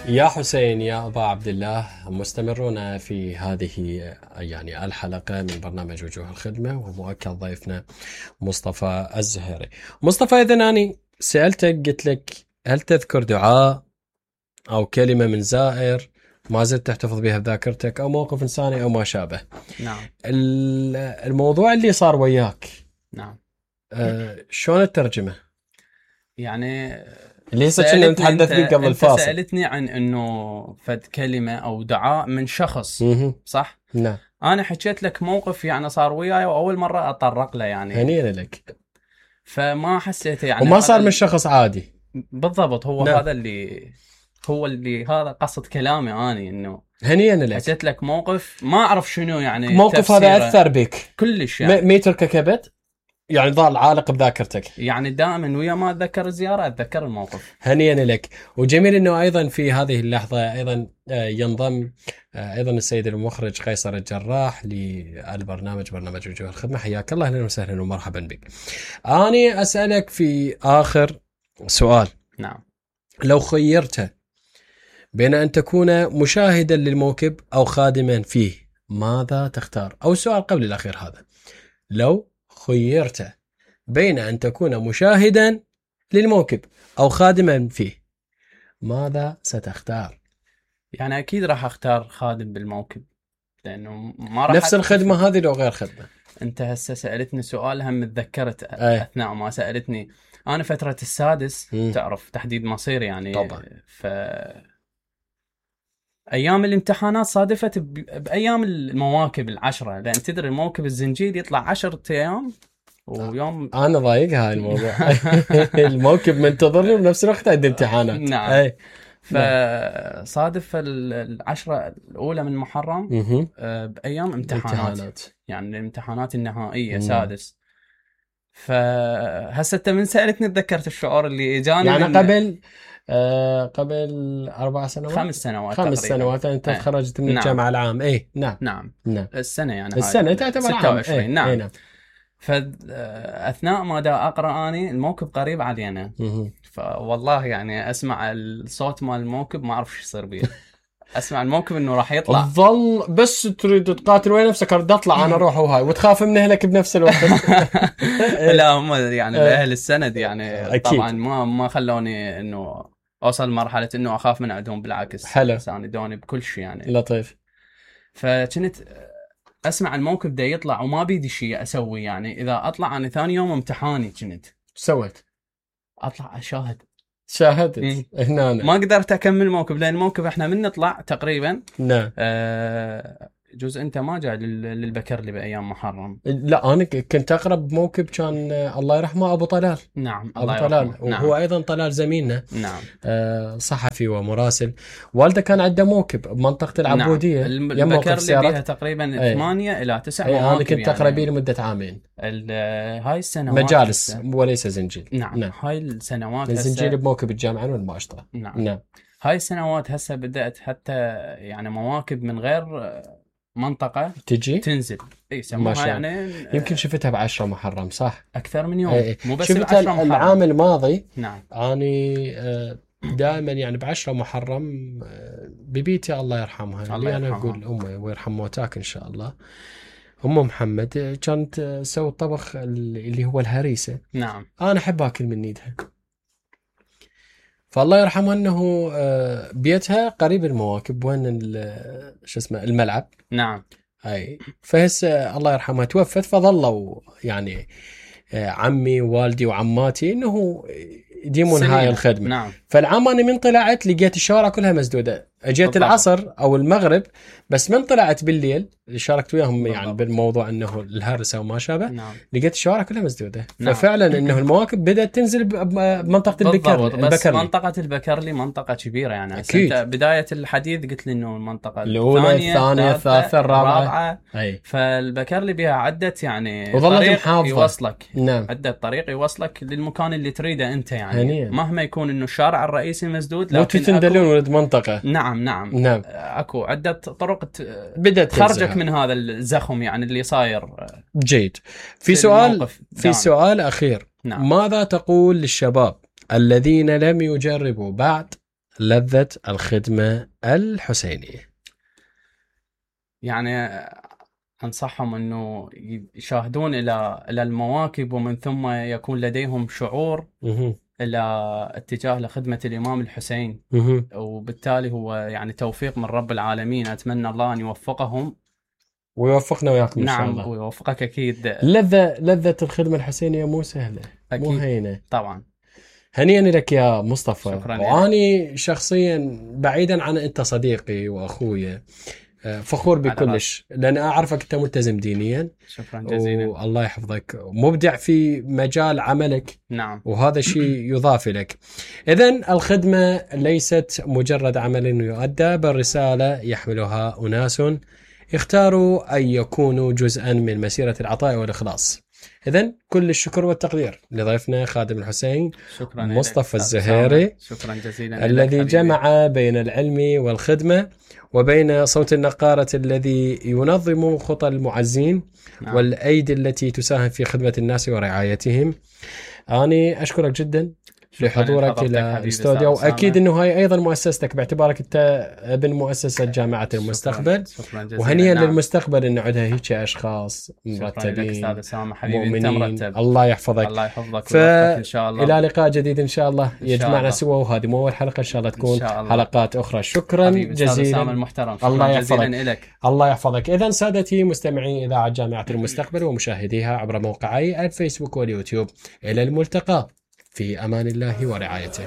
يا حسين يا أبا عبد الله، مستمرون في هذه يعني الحلقة من برنامج وجوه الخدمة، ومؤكد ضيفنا مصطفى الزهيري. مصطفى، إذا أنا سألتك قلت لك هل تذكر دعاء أو كلمة من زائر ما زلت تحتفظ بها بذاكرتك، أو موقف إنساني أو ما شابه؟ نعم. الموضوع اللي صار وياك، نعم. شلون الترجمة؟ يعني اللي هسه كنا نتحدث به قبل الفاصل. انت سألتني عن انه فد كلمة او دعاء من شخص، صح؟ نعم. انا حكيت لك موقف يعني صار وياي واول مرة اطرق له، يعني هنيئا لك. فما حسيته يعني وما صار من شخص عادي. بالضبط. هو نعم. هذا اللي هذا قصة كلامي اني، انه هنيئا لك. حكيت لك موقف ما اعرف شنو يعني موقف هذا اثر بك كلش، يعني ميترك كبت، يعني ظل عالق بذاكرتك. يعني دائما ويا ما اتذكر الزيارة اتذكر الموقف. هنيئا لك. وجميل انه ايضا في هذه اللحظة ايضا ينضم ايضا السيد المخرج قيصر الجراح للبرنامج، برنامج وجوه الخدمة. حياك الله، اهلا وسهلا ومرحبا بك. اني اسالك في اخر سؤال. نعم. لو خيرت بين ان تكون مشاهدا للموكب او خادما فيه، ماذا تختار؟ او سؤال قبل الاخير هذا، لو خيرت بين أن تكون مشاهدا للموكب أو خادما فيه، ماذا ستختار؟ يعني أكيد راح أختار خادم بالموكب، لأنه ما راح نفس الخدمة هذه لو غير خدمة. أنت هسه سألتني سؤال هم تذكرت أثناء ما سألتني. أنا فترة السادس تعرف تحديد مصير يعني طبعا. أيام الامتحانات صادفت بأيام المواكب العشرة، لأن تدري الموكب الزنجير يطلع 10 أيام ويوم. أنا ضايق هاي الموضوع. الموكب منتظرني بنفس الوقت عندي امتحانات. نعم. فصادف العشرة الأولى من محرم بأيام امتحانات، يعني الامتحانات النهائية سادس. فهسه من سألتني تذكرت الشعور اللي اجاني يعني قبل 4 سنوات 5 سنوات انت تخرجت من الجامعة العام. نعم. السنة يعني السنة تعتبر 26. نعم. فأثناء ما دا أقرأ أني الموكب قريب علينا، فوالله يعني أسمع الصوت مال الموكب ما أعرف شو يصير بيه. أسمع الموكب إنه راح يطلع، تظل بس تريد تقاتل وين نفسك، أريد أطلع أنا أروح وهاي، وتخاف من أهلك بنفس الوقت. لا هم يعني أهل السند يعني أكيد. طبعا ما خلوني إنه أوصل مرحلة إنه أخاف من عندهم، بالعكس. حلو. ساندوني بكل شيء يعني. لطيف. فكنت أسمع الموكب ده يطلع وما بيدي شيء أسوي، يعني إذا أطلع أنا ثاني يوم امتحاني كنت سويت أطلع أشاهد. شاهدت هنا ما قدرت أكمل الموكب، لأن الموكب إحنا من نطلع تقريبا. نعم. جزء أنت ما جاء للبكرلي بأيام محرم. لا أنا كنت أقرب موكب كان الله يرحمه أبو طلال. نعم. أبو طلال. وهو نعم. أيضا طلال زميلنا. نعم. صحفي ومراسل. والده كان عنده موكب بمنطقة العبودية. نعم. البكرلي بيها تقريبا 8 إلى 9 مواكب. أنا كنت أقرب يعني لمدة عامين. هاي السنوات مجالس وليس زنجيل. نعم. هاي السنوات الزنجيل بموكب الجامعة والماشطة. نعم. هاي السنوات هسه بدأت حتى يعني مواكب من غير منطقة تجي تنزل. سموها يعني يمكن شفتها ب10 محرم صح؟ أكثر من يوم. مو بس شفتها العام الماضي. نعم. أني دائما يعني ب10 محرم ببيتي الله يرحمها، اللي أنا أقول أمي ويرحم موتاك إن شاء الله، أم محمد كانت تسوي الطبخ اللي هو الهريسة. نعم. أنا أحب أكل من ايدها، فالله يرحمها أنه بيتها قريب المواكب، وين شو اسمه الملعب. نعم. هاي فهسه الله يرحمها توفت، فظلوا يعني عمي ووالدي وعماتي انه يديمون هاي الخدمة. نعم. فالعام أنا من طلعت لقيت الشوارع كلها مسدودة، اجيت العصر او المغرب، بس من طلعت بالليل شاركت وياهم يعني بالموضوع انه الهرسه وما شابه. نعم. لقيت الشوارع كلها مسدوده. نعم. ففعلا انه المواكب بدات تنزل بمنطقه البكرلي. بس منطقه البكرلي منطقه كبيره يعني. انت بدايه الحديث قلت لي انه المنطقه الاولى الثانيه الثالثه الرابعه. فالبكرلي بها عده يعني طريق يوصلك. نعم. عده طريق يوصلك للمكان اللي تريده انت يعني. مهما يكون انه الشارع الرئيسي مسدود، لكن تندلون ولد منطقه. نعم. اكو عده طرق بدت تخرجك من هذا الزخم يعني اللي صاير. جيد. في سؤال اخير. نعم. ماذا تقول للشباب الذين لم يجربوا بعد لذة الخدمة الحسينية؟ يعني أنصحهم أنه يشاهدون إلى المواكب، ومن ثم يكون لديهم شعور إلى اتجاه لخدمة الإمام الحسين. وبالتالي هو يعني توفيق من رب العالمين. أتمنى الله أن يوفقهم ويوفقنا وياكم إن شاء الله. نعم ويوفقك أكيد. لذة الخدمة الحسينية مو سهلة، أكيد. مو هينة طبعا. هنيئا لك يا مصطفى. شكرا. وأني شخصيا بعيدا عن أنت صديقي وأخويا فخور بكلش، لأن أعرفك أنت ملتزم دينيا. شكرا جزيلا. والله يحفظك، مبدع في مجال عملك. نعم. وهذا شيء يضاف لك. إذن الخدمة ليست مجرد عمل يؤدى، بل رسالة يحملها أناس اختاروا أن يكونوا جزءا من مسيرة العطاء والإخلاص. إذن كل الشكر والتقدير لضيفنا خادم الحسين شكرا مصطفى الزهيري. شكرا جزيلا الذي جمع بين العلم والخدمة، وبين صوت النقارة الذي ينظم خطى المعزين. نعم. والأيدي التي تساهم في خدمة الناس ورعايتهم. أنا أشكرك جدا لحضورك إلى الاستوديو، وأكيد أنه هاي أيضا مؤسستك باعتبارك أنت ابن مؤسسة جامعة المستقبل. شكرا جزيلا. وهنيئا نعم. للمستقبل أن نعدها هيك أشخاص مرتبين مؤمنين. الله يحفظك. الله يحفظك إن شاء الله. إلى لقاء جديد إن شاء الله يجمعنا سوا، وهذه مو أول حلقة، إن شاء الله تكون حلقات أخرى. شكرا جزيلا. المحترم. الله يحفظك. الله يحفظك. إذن سادتي مستمعي إذاعة جامعة المستقبل ومشاهديها عبر موقعي الفيسبوك واليوتيوب، إلى الملتقى في أمان الله ورعايته.